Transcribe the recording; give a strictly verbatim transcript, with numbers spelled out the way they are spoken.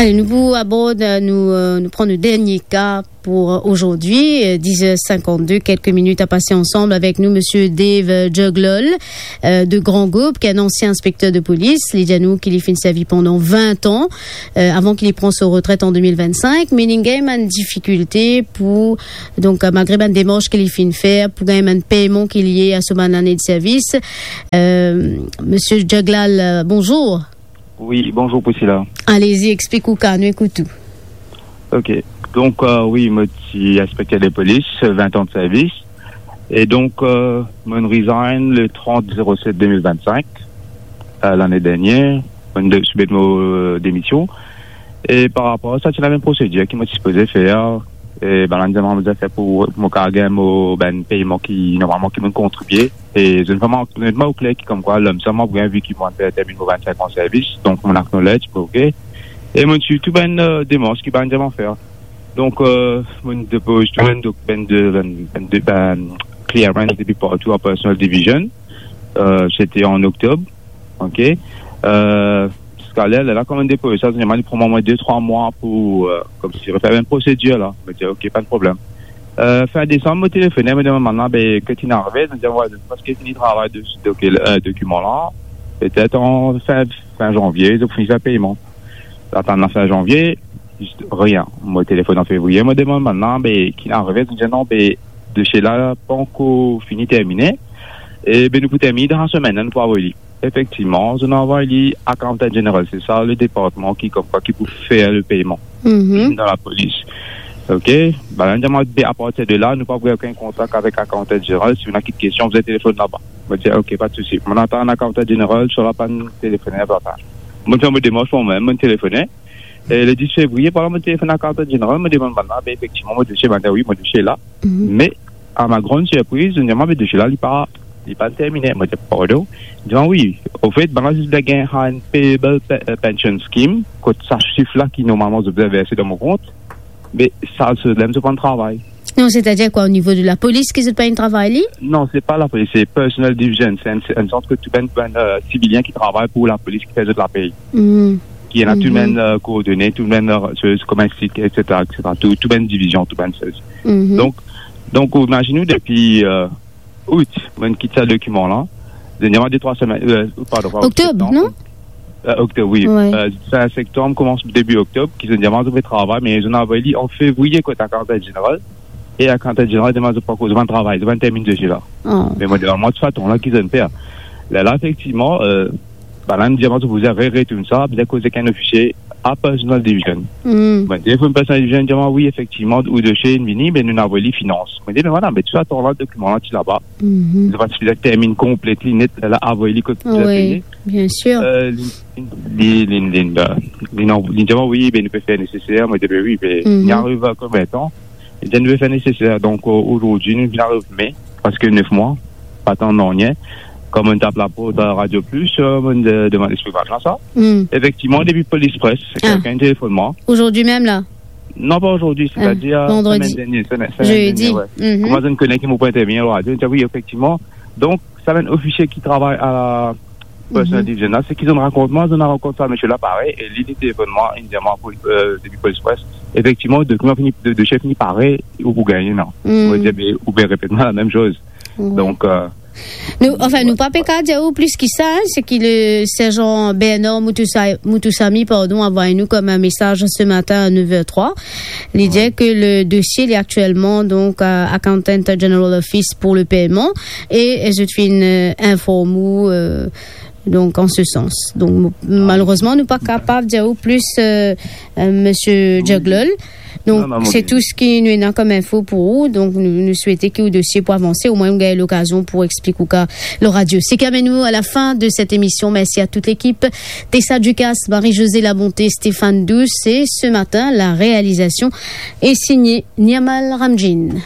Nou pou abord, euh, nou, euh, nou pran nou dernie ka pou, euh, aujourd'hui, euh, dix heures cinquante-deux, quelques minutes à passer ensemble avec nous, monsieur Dave, euh, Juglol, euh, de Grand Gaube, ki enn ansien inspekter de polis. Li dir nou ki li finn servi pandan vin an, euh, avan ki li pran so retret an de mil vinn-sink. Me li gagn bann difikilte pou, donk, euh, malgre bann demars ki li finn fer, pou gagn bann peyman ki liye a so bann lane de servis. Euh, monsieur Juglol, euh, bonjour. Wi, bonzour Priscilla. Alezi, explik ou ka, nou ekout ou. Ok. Donk, euh, wi, mo ti inspekter de polis, vin an de servis. E donk, euh, mo resign le trant zero set de mil vinn-sink, euh, lane dernier. Mo de-, soumete mo, euh, demision. E par rapor a sa, ti ena bann prosedir ki mo ti sipoze fer. E bann la dir mwa mo bizin fer pou mo kapav gagn mo bann peyman ki normalman ki mo kontribie. E zot pa mo, zot pa mo kler ki komkwa, lom sa mo bizin, vi ki mo finn terminn mo vinn-sink an servis, donk mo acknowledge, ok. E mo ti tou bann, euh, demars ki bann dir mwa fer. Donk, euh, mo depoz tou bann dok-, bann de, bann, bann de, bann clearance depi partou an personal division. Euh, sete an oktob, ok. Euh, ziska ler la, kan mo depoz sa, normalman li pran mwa de trwa mwa pou, euh, koumsi refer bann prosedir la. Mo dir, ok, pa de problem. Euh, fin desanm, mo telefone, mo demann bann la, be, ki finn arive? Zot dir, wi, parski finn travay de, de, euh, dokiman la, petet an fin, fin zanvie, zot finn fer peyman. Atann la fin zanvie, zis rien. Mo telefone an fevriye, mo demann bann la, be, ki finn arive? Zot dir, non, be, dosie la pankor fini termine. E, be, nou pou termine dan lasemenn, nou pou avoy li. Efektivman, zot inn avoy li Accountant General, se sa le departman ki, komkwa, ki pou fer le peyman dan lapolis. Ok, bann la dir mwa, be, apartir de la, nou pa pou gagn okenn kontak avek Accountant General. Si ou ena kikestion, bizin telefone laba. Mo dir, ok, pa de sousi. Mo atann Accountant General, swa la pa telefone, pa, pa. Mo fer mo demars mwa mem, mo telefone. E le dis fevriye, par la, mo telefone Accountant General, mo demann bann la, be, efektivman, mo dosie, bann la dir, wi, mo dosie la. Me, a ma grande surprise, zot dir mwa, be, dosie la, li pa, li pa termine. Mo dir, pardon? Li dir mwa, wi, anfet, bann la zis bizin gagn enn payable pe-, euh, pension scheme, kot sa sif la ki normalman zot bizin verse dan mo kont, me sa, se la mem zot pa travay. Non, c'est-à-dire quoi, au niveau de la police, ki zot pa inn travay li? Non, se pa lapolis, se personal division. Se enn, se enn sort kot tou bann, bann, euh, sivilien ki travay pou lapolis, ki fer zot lapey. Ki ena tou bann, euh, koordone, tou bann, euh, sez, kouma explik, et cetera, et cetera. Tou, tou bann divizion, tou bann sez. Donk, donk, imazinn ou, depi, euh, out, mo inn kit sa dokiman la. Dernieman de trwa semenn, euh, pardon, pa Oktob, septanm, non? Euh, oktob, wi. Euh, fin septanm, koumans debi oktob, ki zot dir mwa zot pe travay, me zot inn avoy li an fevriye kot Accountant General. E Accountant General dir mwa zot pankor, zot pa travay, zot pa termine dosie la. Me mo dir, mwa, sa tan la ki zot inn fer? Lerla, efektivman, euh, bann la dir mwa zot pou re-, retourn sa, bizin koz ek enn ofisie a personal division. Mo telefone personal division, dir mwa, wi, efektivman, ou dosie inn vini, me nou inn avoy li finans. Mo dir, me vwala, me tou sa tan la, dokiman la ti laba. Zot pa ti bizin termine konplet li net, lerla avoy li kot bizin peye. Bien sûr. Euh, li, li, li, li, li, li, non, li dir mwa, wi, be, nou pe fer neseser. Mo dir, be, wi, be, li ariv konbien tan? Li dir, nou pe fer neseser. Donk, euh, azordi, nou vinn ariv me, preske nef mwa, pa tann nanye. Kan mo tap laport, euh, Radio Plus, euh, mo de-, demann explikision sa. Efektivman, depi Polis Pres, kelkenn telefone mwa. Aujourd'hui même, là? Non, pa azordi, c'est-à-dire, euh, vendredi. Semenn dernie, semenn, semenn dernie, wi. Kouma zot inn kone ki mo pou intervini ar radio, zot dir, wi, efektivman. Donk, sa bann ofisie ki travay a la personal division la, seki zot inn rakont mwa, zot inn rakont sa misie la parey, e li, li telefone mwa, li dir mwa pou, euh, depi Polis Pres. Efektivman, dokiman fini, do-, dosie fini pare, ou pou gagne, non? Mo dir, be, ou pe repet mwa lamem soz. Donk, euh, nou, anfin, nou pa pe kapav dir ou plis ki sa, hein, seki le serzan Bernard Moutousa-, Moutousamy, pardon, avoy nou kom enn mesaz se matin à neuf heures trois. Li dir ke le dosie, li aktielman, donk, à Accountant General Office pour le paiement, e, e zot finn, euh, inform ou, euh, donk, an se sans. Donk, mo-, malerezman, nou pa kapav dir ou plis, euh, euh, misie Juglol. Donk, se tou seki nou ena kom info pou ou. Donk, nou, nou swete ki ou dosie pou avanse, omwin ou gagn lokazion pou explik ou ka lor radio. Seki amenn nou à la fin de cette émission. Merci à toute l'équipe. Tessa Ducasse, Marie-Josée Labonté, Stéphane Douce. Et ce matin, la réalisation est signée Niamal Ramdjine.